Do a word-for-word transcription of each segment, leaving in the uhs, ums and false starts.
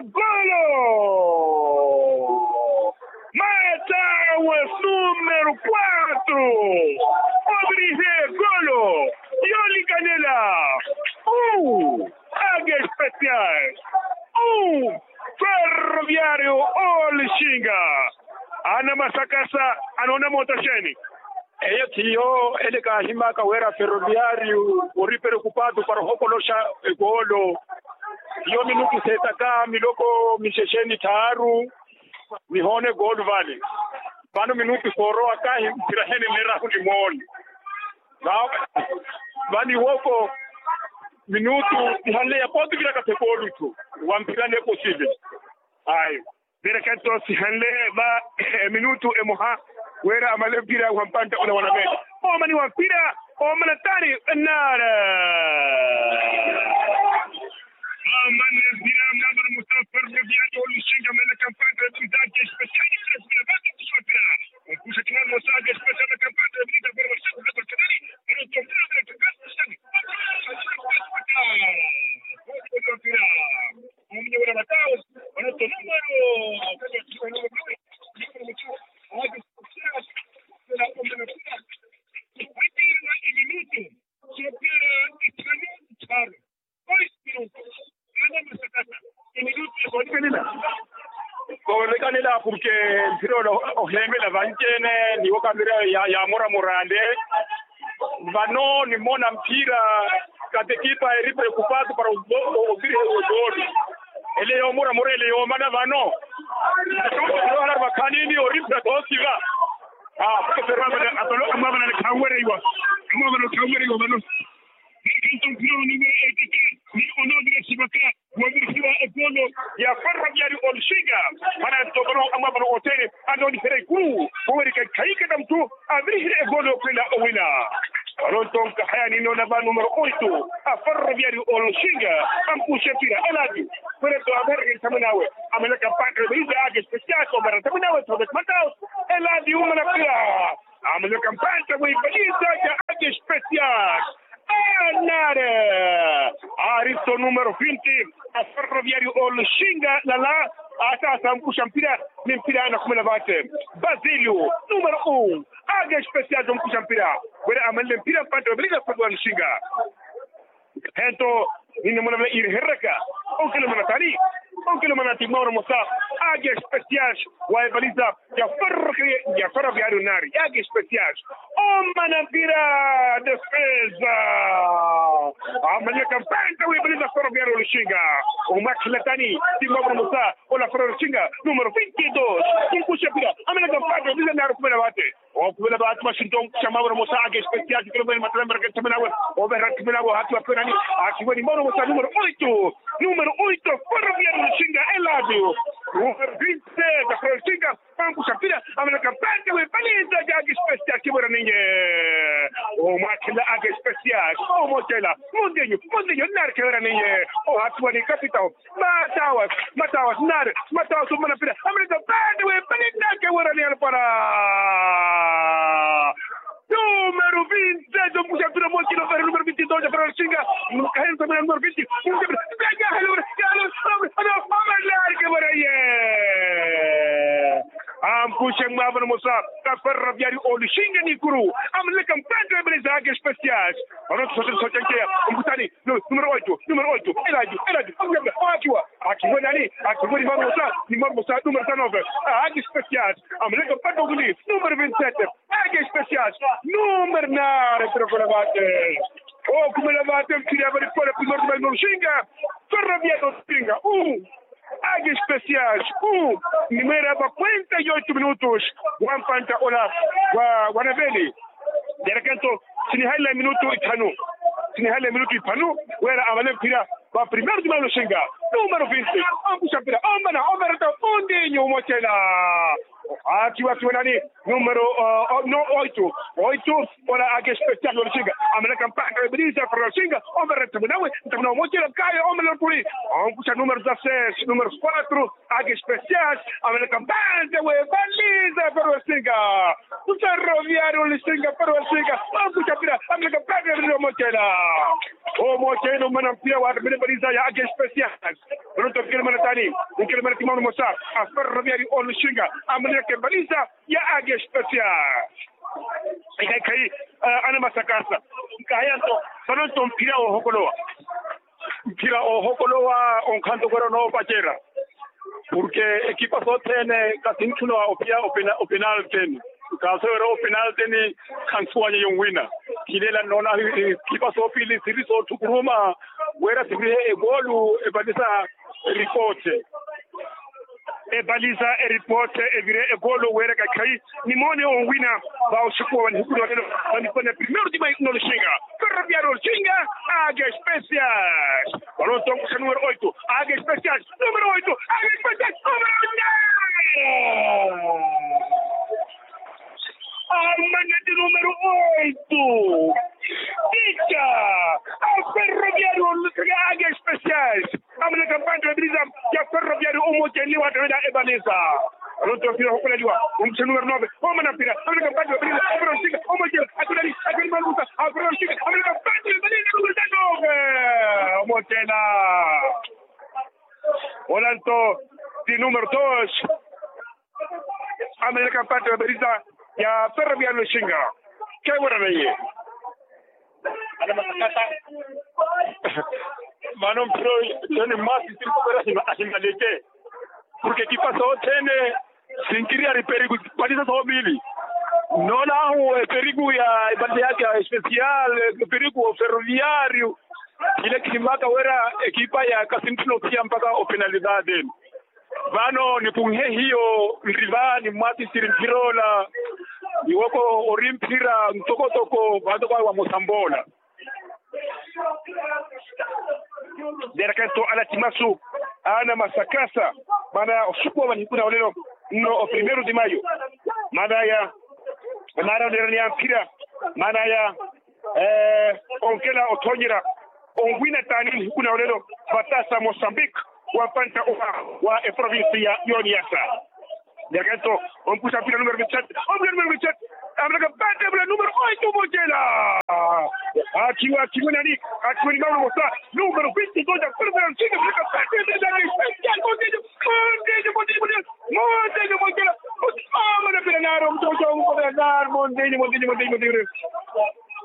Golo. Matawa numero quatro. Obrihe golo. Yolikanela. Uu. Age especial. Uu. Ferroviario olixinga. Ana masakasa. Anoona moota xeeni? Eyo thiyo ele kaahimaka wera ferroviario ori preocupado para ohokoloxa. Egolo. Iyo minutu setaka miloko mixexeni thaaru. Nihoona egolo vale. Vano minutu soorowa kahi mpira hene nerahu nimoone. Vaniwoko minutu ihanle ya pooti viraka thekolutu. Wa mpira ne posivili. Ayo. Viraka nto sihanle va. Minutu emoha wera amale mpira wa mpanta ola wanavele. Omani wa mpira. Omana tari. Nara. Omani mpira mnambara musafer na viato olushinga mele kampanta. Mpira. Mpira. Koolekhanela purke mpira ole oheemela vanci-ene. Niwo kamira ya moramorande. Vano nimona mpira. Katekipa eri preokupado para oviriha egoolu. Ele yoomoramora ele yoomana vano. Ohala vakhanini ori mpira toosiva. Atolo amwavanani khanwereiwa. Amwavanani khanwereiwa vano. Ni onoovirasivaka. Wavirihiwa egolo ya ferroviari oluxinga. Mana ntokolo amwavano otere anooniherya ikuru. Wowerika ekhayikana muthu avirihire egolo yokhwelela owina. Vano ntonka haya ninoona va numero oito a ferroviari oluxinga. Ampuxe mpira eladi. Kwene to avereke nthamwinawe. Amelaka mpaka veiza ake especial kombara nthamwinawe thoke mataus. Eladi umana mpira. Amelaka mpanta weivalisa ja ake especial. Anare. Aristo numero vinti a ferroviari oluxinga lala. Ata asampuxa mpira. Ni mpira anakhumela vate. Basilio numero un. Ake especial tompuxa mpira. Wele amanle mpira mpanta weivalisa fatu oluxinga. Hento. Nini muna vale iriherereka. Onkelo manatani. Onkelo manati mwauro mosa. Ake especial. Waevaliza. Yaferroviario nari yake especial. Omana mpira. Defeza. Amanyaka mpanta wibaliza ferroviario oluxinga. Omwakhela tani. Timavuro musa. Ola ferroviario oluxinga. Numero vinti dos. Tunkuxa mpira. Amanyaka mpanta wibaliza nari okhumela vate. Okhumela vate maxinto. Xa mavuro musa ake especial. Kelo vene matala mbaraka nthamwinawe. Overra nthamwinawe hati wapenani. Akiweni mavuro musa numero oito. Numero oito. Ferroviario oluxinga eladio. Numero vinti. Ferroviario oluxinga. Ankuxa mpira amanaka mpanta wepaliza ja ake especial kiwera ninye. Omwakhela ake especial. Omotela. Mundenyu. Mundenyu nari kiwera ninye. Ohatiwa ni kapitao. Matawas. Matawas nari. Matawas umana mpira amanaka mpanta wepaliza kiwera ninye alpara. Numero vinti dos. Ankuxa mpira motela overa numero vinti dos afera oluxinga. Kahensa mena numero vinti. Amalari kiwera ye. Ampuxe mwavano musa. Kaferroviari oluxinga nikuru. Amaleka mpanta webeleza ake especial. Vano tusote tusote nkeya. Omputani. Numero oito. Numero oito. Elaju. Elaju. Akiwa. Akiwa nani? Akiwa ni mwavano musa. Ni mwavano musa. Numero sanove. Ake especial. Amaleka mpanta webeli. Numero vinti sete. Ake especial. Numero nari. Pero kola vate. Okhumela vate mpira vali pole primero tumali oluxinga. Ferroviario oluxinga. Ake especial. Nimwera va kuenta yoitu minutos. Wampanta ola. Wanaveli. Yarekento. Sinihalela minutu ithanu. Sinihalela minutu ithanu. Wera avale mpira. Va primero tumali oluxinga. Numero vinti. Ankuxa mpira. Omana omereta. Undinyu umotela. Akiwa akiwa nani? Numero. No oito. Oito. Ola ake especial oluxinga. Amaleka mpanta webeliza ferroviario oluxinga. Omereta munawe. Ntamuna umotela kayo omereta kuli. Ankuxa numero dezasseis. Numero quatro. Ake especial. Amaleka mpanta webeliza ferroviario oluxinga. Ferroviario oluxinga. Ferroviario oluxinga. Ankuxa mpira. Amaleka mpanta webeliza umotela. Omoceene omana mpira waattamile epaliza ya age especial. Manontto onkele mwana taani? Onkele mwana ti mwaano mosa a ferroviari oluxinga. Amanelaka epaliza ya age especial. Ikhaikhayi, anamasakasa. Nkahaya nto, manontto mphira oohokolowa. Mphira oohokolowa onkhanto kwera onoopacerya. Porke ekipa sothene kasinthuna ophiya openalteni. Kaasowera openalteni, khansuwanyeya onwina. Khilela nnoona ekipa soopili siri soothukuruma wera sirihe egoolu epalisa. Eripoote. Epalisa eripoote evire egoolu wera kakhayi. Nimoone onwina va osukuwa wa nihiku na olelo. Vanipone primeiro tima noluxinga. Ferroviari oluxinga. Age especial. Balonto onkuxa numero oito. Age especial. Numero oito. Age especial. Numero oito. Amanati numero oito. Tita. Aferroviari oluxinga. Age especial. Amanaka mpante wa epiriza ya ferroviari omocenliwa atavela epaliza. Alonto mpira hokoleliwa. Omuthe numero nove. Omana mpira amanaka mpante wa epiriza. Aferroviari omocenliwa atavela epaliza. Aferroviari omocenliwa atavela epaliza. Omotela. Olanto ti numero dos. Amanaka mpante wa epiriza ya ferroviari oxinga. Kewera neye. Mano mpiro tene masi sirikopera ahimaleke. Porke ekipa sothene sinkiriyari eperiku. Palisa soopili. Noona ahu eperiku ya epalisa yaka especial. Eperiku oferroviario. Ile khimaka wera ekipa ya kasinthuna ophiya mpaka openalidade. Vano nipunhe hiyo nriva ni mwatisiri mpira ola. Iwoko ori mpira ntokotoko vaatoko awe wa mosamboola. Derakento ala timasu ana masakasa. Maana ya osuku wa manihiku na olelo nno o primeiro de maio. Maana ya maana onerani ya mpira. Maana ya onkela othonyera onwina taani nihiku na olelo vatasa mosambik. Wa mpanta owa wa eprovinsi ya yoniyasa. Derakento ompuxa mpira numero vintset. Ompuxa numero vintset. Amanaka mpante vula numero oito mocela. Akiwa akiwa nani? Akiwa ni mauna mosa. Numero vintset oja kule vula ntsika vula mpante vula nani? Montejo montejo montejo montejo montejo montejo. Montejo montejo. Omana mpira naro mtoto mkola naro montejo montejo montejo montejo.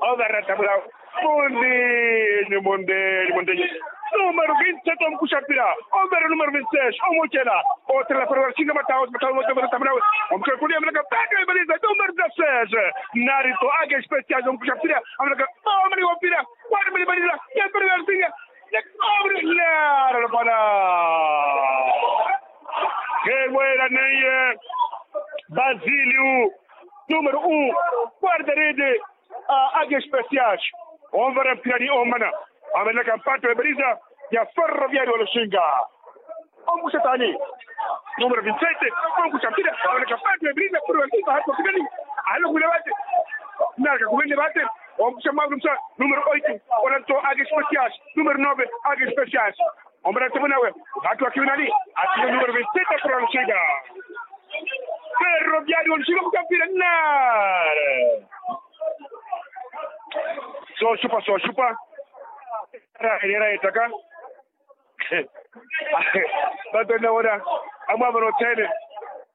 Ogarata vula. Montejo montejo montejo. Numero vintset ompuxa mpira. Omvera numero vintset omocela. Otela para vaxinga matawo matawo matawo matawo matawo. Ompuxa mpira amanaka mpante vula numero dezasseis. Narito age especial ompuxa mpira amanaka. Omani wa mpira. Wari mani manila ya mpira ya nsinga. Nara lopana. Kewera neye. Basilio numero un. Guardarede. Age especial. Onvara mpirani omana. Amanaka mpante wa eperiza ya ferroviario oluxinga. Ompuxa taani? Numero vintset. Ompuxa mpira amanaka mpante wa eperiza ya ferroviario oluxinga. Hati wakinani. Alokwile vate. Naraka kumene vate. Ompuxa mwawe numero oito. Olanto age especial. Numero nove age especial. Ombara temo nawe. Atu akiwinani. Atu numero vintset ya ferroviario oluxinga. Ferroviario oluxinga mukapira nare. Sooxupa sooxupa. Era era etaka. Vato nnawoona amwaavano othene.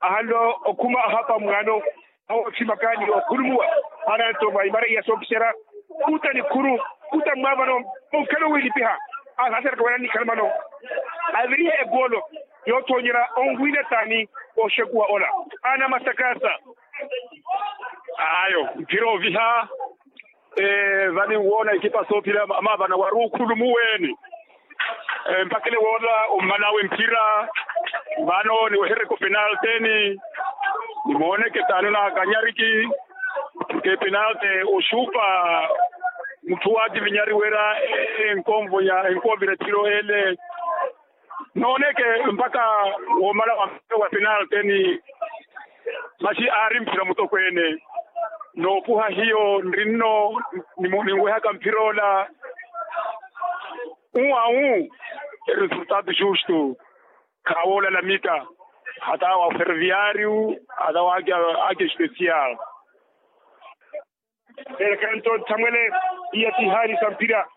Ahanle okhuma ahapa mwaano. Awo othimakaani okhulumuwa. Hana nto mwa imara iya sookisera. Kuta nikhuru. Kuta mwaavano. Onkhela owilipiha. Ahasereka wena nikhala mano. Avirihe egoolo yoothonyera onwina taani. Oxekuwa ola ana masakasa. Ayo mphira oviha. Vani nwoona ekipa soophira amaavana wari okhulumuweeni. Mpakha ele woola ommanawe mphira. Vano niwehereke openalteni. Nimooneke taani onakanyariki. Ke penalti oxupa mutthu waativinyari wira enkonvonya enkonvira ethiro ele. Nooneke mpakha woomala wa mphira wa penalteni. Maxi aari mphira mutokweene. Noopuha hiyo nrinno. Ninwehaka mphira ola. Uwa u resultado justo. Khawoolala mita hata wa ferroviario hata wa ake especial. Ereka nto nthamwele iya tihaani sa mphira.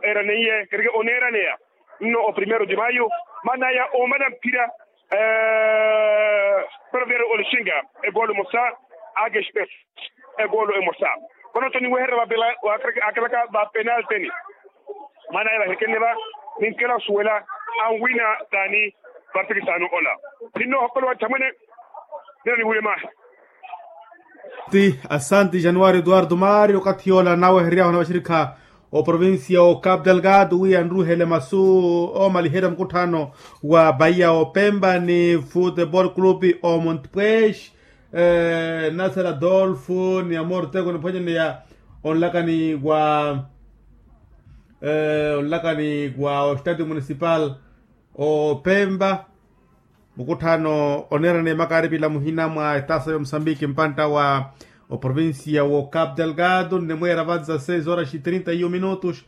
Eeraneiye kereke oneeraneya nno o primeiro de maio, maana aya omala mphira. Ferroviario olixinga egoolo emosa, ake express egoolo emosa. Vano toniweherya vakelaka vapenalteni. Maana aya vahekenne va ninkela osuwela anwina taani vartikisano ola. Ninno ohokolowa nthamwene. Nino niwuule mahi. Ti asanti januari eduardo mari okathi yoola naweheryahona vaxirikha oprovincia o capo delgado wi anruhele masu omaliherya mukutthano wa bahia opemba ni futebol club o montpes. Nasser adolfo ni amor teko niphwanyaneya onlakani wa onlakani wa ostadio municipal opemba. Mukutthano oneerana emakaari pila muhina mwa etasa ya omusambiki mpantta wa oprovincia wo capo delgado nnemweera vanza seis horas e trinta e um minutos.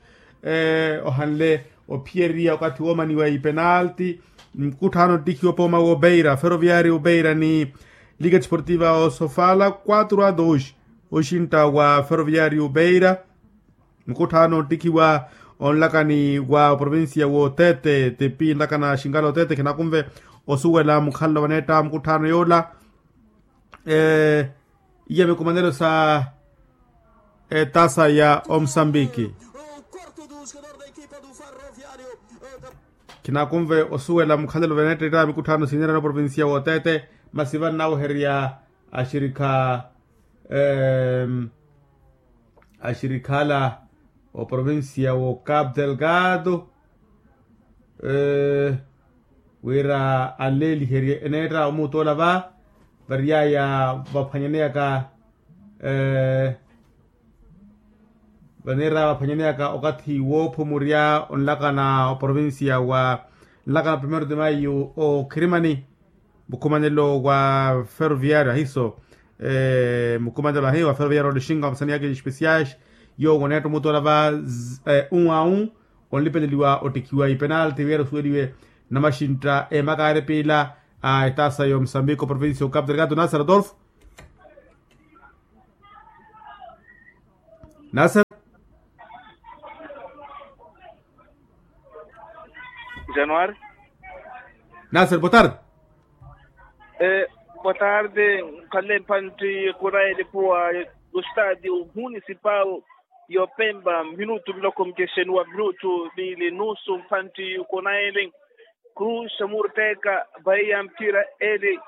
Ohanle ophiyeriya okathi woomaniwa ipenalti. Mukutthano ottikhiwa pooma w'obeira ferroviario obeira ni liga desportiva osofala quatro a dos. Oxintta wa ferroviario obeira. Mukutthano ottikhiwa onlakani wa oprovincia w'otete tipi nlakana xinkala otete khinakunve osuwela mukhalelo vaneetta mukutthano yoola. Iya mikumanelo sa etasa ya omusambiki. Khinakunve osuwela mukhalelo vaneetta mikutthaano sineerana oprovincia w'otete masi vannaweherya axirikha axirikhala oprovincia wo capo delgado wira anleeliherye eneetta omuuttoola va variyaya vaphwanyaneyaka vaneera vaphwanyaneyaka okathi woophumurya onlakana oprovincia wa nlakana primeiro de maio okhirimani mukhumanelo wa ferroviario ahiso mukhumanelo ahi wa ferroviario olixinga wa masani yake especiais yoowo oneetta omuuttoola va un a un onlipeleliwa ottikhiwa ipenalti wira osuweliwe namaxintta emakaari piila a etasa ya omusambiki oprovincia o capo delgado nasser adolfo. Nasser. Januari. Nasser boa tarde. Boa tarde. Nkhalle mphantti khunaye lipuwa yo stadio municipal y'opemba minutu miloko micexeni wa minutu miili nusu mphantti khunaye. Cruz xamurteka vaiya mphira eli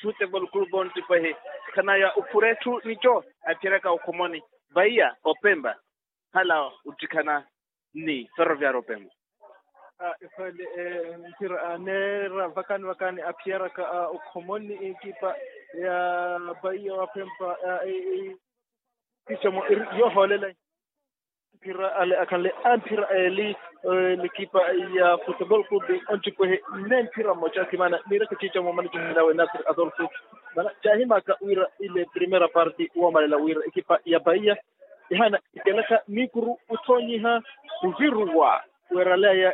futebol club onttipahi khanaya ophuretthu nico aphiraka okhomoni vaiya opemba hala ottikhana ni ferroviario opemba. Ekhwele mphira aneera vakani vakani aphiyaraka okhomoni ekipa ya vaiya opemba. Kicomo eri yoohoolela mphira ale akhanle amphira eli. Lekipa ya futebol club onttipahi nne mphira mmoca akhimana niiraka ciica moomana coohelawe nasir adolfo. Mana caahimaka wira ile primera parti woomalela wira ekipa ya bahia ihaana ikelaka miikuru othoonyiha oviruwa weeraleya.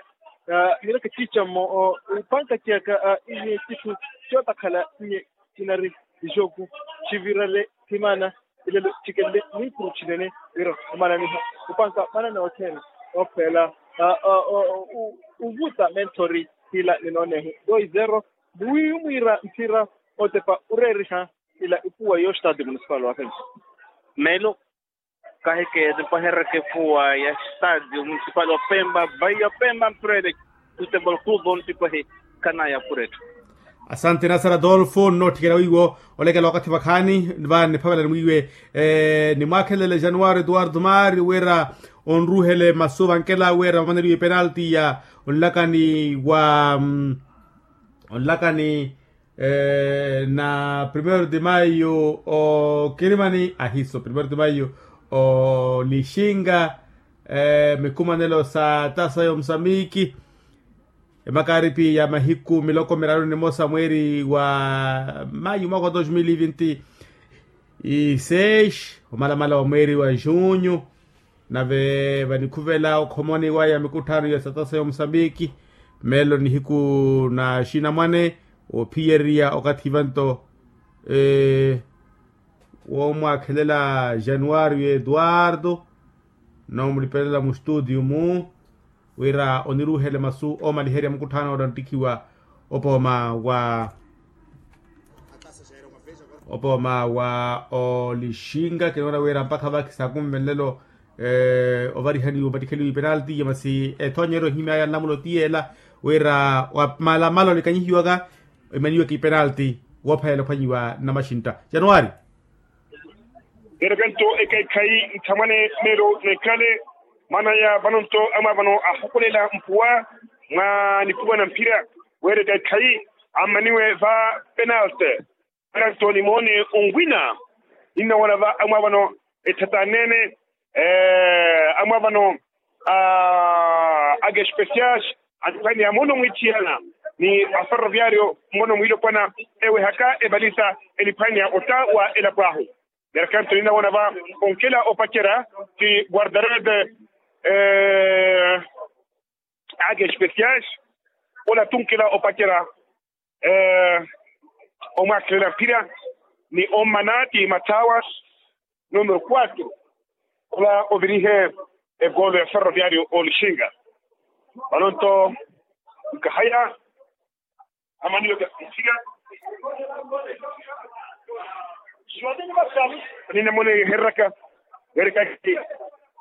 Niiraka ciica mmo ipanka ciyaka inye citthu cootakhala inye cinari ixoku civirale thimana. Ilelo cikenle mwiikuru cinene wira omananiha opanka manana othene okhweela ovuta mentori hila ninoonehu doi zero. Muwiiwi mwiira mphira otepa oreeriha ila ipuwa yo stadio municipal wa fempa. Meelo kahike tipahereke epuwa ya stadio municipal opemba vai opemba mphira ele. Futebol club ontipahi khanaya pura etthu. Asante nasara adolfo nnootthikela wiiwo olekela wakathi vakhaani va niphavelani mwiiwe. Nimwaakhelele januwari eduwardo mari wira onruuhele masu vankela wira vamaneriwe penalti ya onlakani wa onlakani na primeiro de maio okirimani ahiso primeiro de maio olixinga mikumanelo sa tasa ya omusambiki. Emakaaripi ya mahiku miloko miraru nimosa mweeri wa maio mwaaka wa dos mil e vinte e seis omalamala wa mweeri wa junho. Nave vanikhuvela okhomoni waya mikutthano ya satasa ya omusambiki meelo nihiku na xinamwane ophiyeriya okathi vanto woomwaakhelela januwario eduwardo. Noomulipelela mustutiyu-mu wira oniruuhele masu oomaliherya mukutthaano ottanttikhiwa opooma wa opooma wa olixinka kinoona wira mpakha vakhi saakunvenlelo ovarihaniwa opattikheliwa ipenalti ya masi ethoonyeryo ehimyaya nlamulo ti yeela wira wamalamala olikanyihiwaka emaniweke ipenalti woophayela ophwanyiwa namaxintta januwari. Neerekento ekaikhayi nthamwane meelo neekhale mwanaya vanonto amwaavano ahakulela mpuwa mwa nipuwa na mphira weereka ekhayi ammaniwe va penalte. Weeranto nimoone onwina ninnawoona va amwaavano etthatanene amwaavano a age especiais aniphaneya mono mwiithiyana ni aferroviario mono mwiilopwana ewehaka evalisa eniphaneya otta wa elapo ahu. Neerekanto ninnawoona va onkela opacerya ti guardarede age especiais ola tunkela opacerya omwaakhelela mphira ni ommana ti mathawas numero quatro ola ovirihe egoolo ya ferroviario olixinga. Vanonto nkahaya amaniwe mphira ninamona ehereraka weerekaki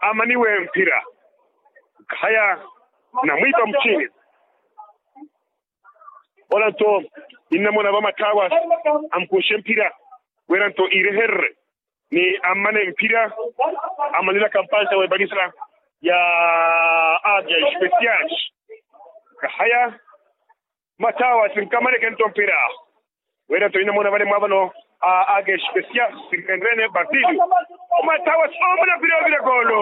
amaniwe mphira. Khaya namwiipa muchini ola nto ninnamona vamathawa ampuxe mphira wira nto iirehererye ni ammane mphira amanilaka mpansa w'evalisa ya age especiais. Khaya mathawa sinkamaneke nto mphira wira nto ninnamona vale mwaavano a age especiais sinkenrene basilio. Mathawa soomona mphira ovira goolo.